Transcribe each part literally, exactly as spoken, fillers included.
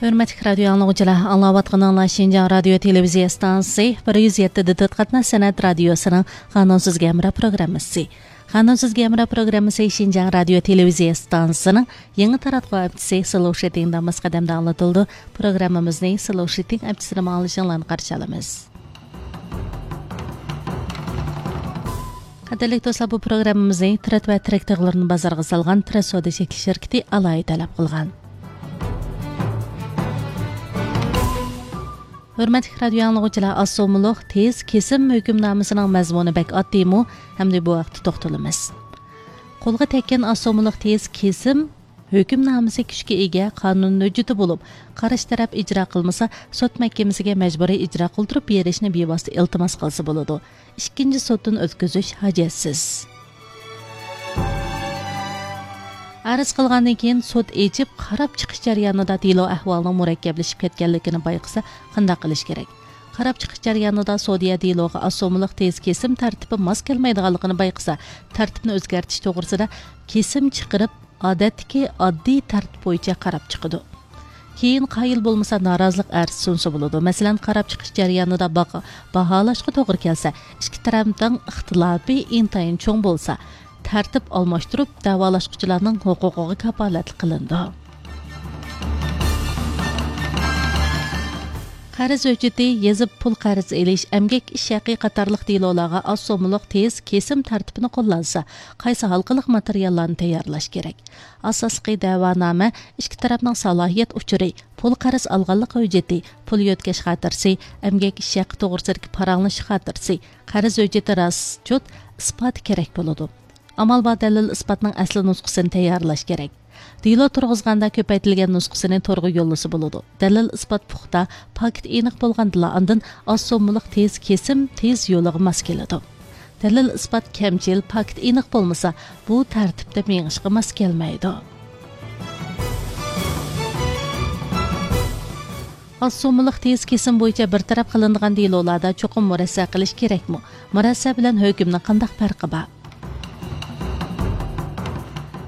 ھۆرمەتلىك رادىيو ئاڭلىغۇچىلار، ئاڭلاۋاتقىنىڭلار شىنجاڭ رادىيو تېلېۋىزىيە ئىستانسىسى بىر يۈز يەتتە دىتىت قاتناش سەنئەت رادىيوسىنىڭ قانۇنسىز گەمرا پروگراممىسى. قانۇنسىز گەمرا پروگراممىسى شىنجاڭ رادىيو تېلېۋىزىيە ئىستانسىسىنىڭ يېڭى تاراتقۇ ئەپچىسى سلوشىتىڭ داماسقا دەمدە ئاڭلىتىلىدۇ. پروگراممىمىزنى سلوشىتىڭ ئەپچىسىدىمۇ ئاڭلىشىڭلارنى قارشى ئالىمىز. قەدىرلىك دوستلار، بۇ پروگراممىمىزنى ترېد ۋە تىرەك تۇغلىرىنى بازارغا سالغان ترېد سودا چەكلىك شىركىتى ئالاھىدە تەلەپ قىلغان. ھۆرمەتلىك رادىيو ئاڭلىغۇچىلار، ئاز سوممىلىق تېز كېسىم ھۆكۈمنامىسىنىڭ مەزمۇنى بەك ئاددىيمۇ؟ ھەمدە بۇ ھەقتە توختىلىمىز. قولغا تەگكەن ئاز سوممىلىق تېز كېسىم ھۆكۈمنامىسى كۈچكە ئىگە قانۇن ھۆججىتى بولۇپ، قارشى تەرەپ ئىجرا قىلمىسا، سوت مەھكىمىسىگە مەجبۇرىي ئىجرا قىلدۇرۇپ بېرىشنى بىۋاسىتە ئىلتىماس قىلسا بولىدۇ. ئىككىنچى سوتتىن ئۆتكۈزۈش ھاجەتسىز. ئەرز قىلغاندىن كېيىن سوت ئېچىپ، قاراپ چىقىش جەريانىدا دېلو ئەھۋالىنىڭ مۇرەككەپلىشىپ كەتكەنلىكىنى بايقىسا، قانداق قىلىش كېرەك؟ قاراپ چىقىش جەريانىدا سودىيە دېلوغا ئاز سوممىلىق تېز كېسىم تەرتىپى ماس كەلمەيدىغانلىقىنى بايقىسا، تەرتىپنى ئۆزگەرتىش توغرىسىدا كېسىم چىقىرىپ، ئادەتتىكى ئاددىي تەرتىپ بويىچە قاراپ چىقىدۇ. كېيىن قايىل بولمىسا، نارازىلىق ئەرزى سۇنسا بولىدۇ. مەسىلەن، قاراپ چىقىش جەريانىدا باقا-، باھالاشقا توغرا كەلسە، ئىككى تەرەپنىڭ ئىختىلاپى ئىنتايىن چوڭ بولسا، تەرتىپ ئالماشتۇرۇپ، دەۋالاشقۇچىلارنىڭ ھوقۇقىغا كاپالەتلىك قىلىنىدۇ. قەرز ھۆججىتى، يېزىپ پۇل قەرز ئېلىش، ئەمگەك ئىش ھەققى قاتارلىق دېلولارغا ئاز سوممىلىق تېز كېسىم تەرتىپىنى قوللانسا، قايسى ھالقىلىق ماتېرىياللارنى تەييارلاش كېرەك؟ ئاساسلىقى دەۋانامە، ئىككى تەرەپنىڭ سالاھىيەت ئۇچۇرى، پۇل قەرز ئالغانلىق ھۆججىتى، پۇل يۆتكەش خاتىرىسى، ئەمگەك ئىش ھەققى توغرىسىدىكى پاراڭلىشىش خاتىرىسى، قەرز ھۆججىتى راست سۈجۈت ئىسپاتى كېرەك بولىدۇ. ئامال بار دەلىل ئىسپاتنىڭ ئەسلى نۇسخىسىنى تەييارلاش كېرەك. دېلو تۇرغۇزغاندا كۆپەيتىلگەن نۇسخىسىنى تورغا يوللىسا بولىدۇ. دەلىل ئىسپات پۇختا، پاكىت ئېنىق بولغاندىلا ئاندىن ئاز سوممىلىق تېز كېسىم تېز يولىغا ماس كېلىدۇ. دەلىل ئىسپات كەمچىل، پاكىت ئېنىق بولمىسا، بۇ تەرتىپتە مېڭىشقا ماس كەلمەيدۇ. ئاز سوممىلىق تېز كېسىم بويىچە بىر تەرەپ قىلىنىدىغان دېلولاردا چوقۇم مۇرەسسە قىلىش كېرەكمۇ؟ مۇرەسسە بىلەن ھۆكۈمنىڭ قانداق پەرقى بار؟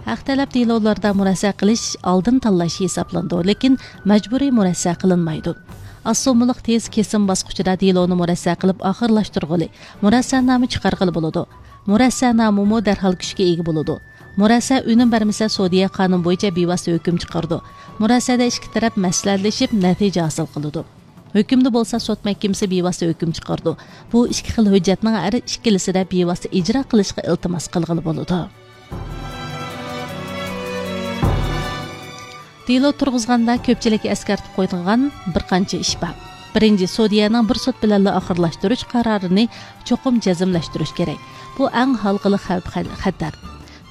ھەق تەلەپ دېلولىرىدا مۇرەسسە قىلىش ئالدىن تاللاش ھېسابلىنىدۇ، لېكىن مەجبۇرىي مۇرەسسە قىلىنمايدۇ. ئاز سوممىلىق تېز كېسىم باسقۇچىدا دېلونى مۇرەسسە قىلىپ ئاخىرلاشتۇرغىلى، مۇرەسسەنامە چىقارغىلى بولىدۇ. مۇرەسسەنامىمۇ دەرھال كۈچكە ئىگە بولىدۇ. مۇرەسسە ئۈنۈم بەرمىسە، سودىيە قانۇن بويىچە بىۋاسىتە ھۆكۈم چىقىرىدۇ. مۇرەسسەدە ئىككى تەرەپ مەسلىھەتلىشىپ، نەتىجە ھاسىل قىلىدۇ. ھۆكۈمدە بولسا سوت مەھكىمىسى بىۋاسىتە ھۆكۈم چىقىرىدۇ. بۇ ئىككى خىل ھۆججەتنىڭ ھەر ئىككىلىسىدە بىۋاسىتە ئىجرا قىلىشقا ئىلتىماس قىلغىلى بولىدۇ. دېلو تۇرغۇزغاندا كۆپچىلىككە ئەسكەرتىپ قويىدىغان بىر قانچە ئىش بار. بىرىنچى، سودىيەنىڭ بىر سوت بىلەنلا ئاخىرلاشتۇرۇش قارارىنى چوقۇم جەزملەشتۈرۈش كېرەك. بۇ ئەڭ ھالقىلىق خەۋپ-خەتەر.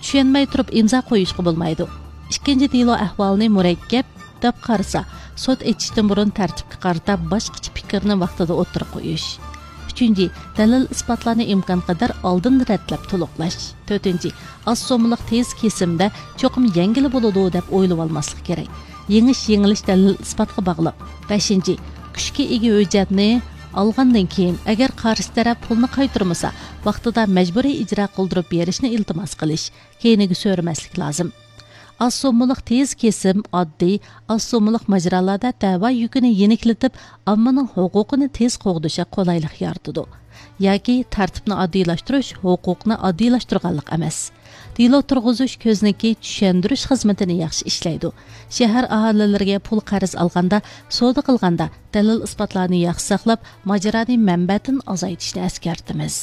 چۈشەنمەي تۇرۇپ ئىمزا قويۇشقا بولمايدۇ. ئىككىنچى، دېلو ئەھۋالىنى مۇرەككەپ دەپ قارىسا، سوت ئېچىشتىن بۇرۇن تەرتىپكە قارىتا باشقىچە پىكىرنى ۋاقتىدا ئوتتۇرىغا قويۇش. ئۈچىنچى، دەلىل ئىسپاتلارنى ئىمكانقەدەر ئالدىن رەتلەپ تولۇقلاش. تۆتىنچى، ئاز سوممىلىق تېز كېسىمدە چوقۇم يەڭگىلى بولىدۇ دەپ ئويلىۋالماسلىق كېرەك. يېڭىش، يېڭىلىش دەلىل ئىسپاتقا باغلىق. بەشىنچى، كۈچكە ئىگە ھۆججەتنى ئالغاندىن كېيىن، ئەگەر قارشى تەرەپ پۇلنى قايتۇرمىسا، ۋاقتىدا مەجبۇرىي ئىجرا قىلدۇرۇپ بېرىشنى ئىلتىماس قىلىش. كەينىگە سۆرىمەسلىك لازىم. ئاز سوممىلىق تېز كېسىم ئاددىي، ئاز سوممىلىق ماجىرالاردا دەۋا يۈكىنى يېنىكلىتىپ، ئاممىنىڭ ھوقۇقىنى تېز قوغدىشىغا قولايلىق يارىتىدۇ. ياكى تەرتىپنى ئاددىيلاشتۇرۇش ھوقۇقنى ئاددىيلاشتۇرغانلىق ئەمەس. دېلو تۇرغۇزۇش كۆزنىكى چۈشەندۈرۈش خىزمىتىنى ياخشى ئىشلەيدۇ. شەھەر ئاھالىلىرىگە پۇل قەرز ئالغاندا، سودا قىلغاندا دەلىل ئىسپاتلارنى ياخشى ساقلاپ، ماجىرانى مەنبەدىن ئازايتىشنى ئەسكەرتىمىز.